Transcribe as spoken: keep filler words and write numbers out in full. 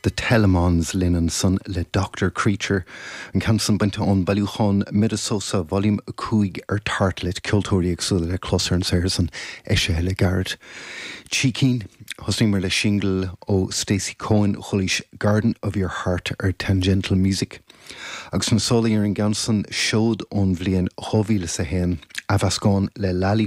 The Telemons linn ansan le Doctor Creature an ceann san bainte ón bailiúchán Minnesota Volume a cúig ar Tartelet ceoltóirí éagsúla le clos ar an saothar san eisithe le gairid. Trí cinn Thosaíomar le single ó Stacy Cohen chualaís Garden of Your Heart ar Tangential Music. Agus na sólaí ar an gceann san seod ón bhliain dhá mhíle is a haon athmheascán le Lally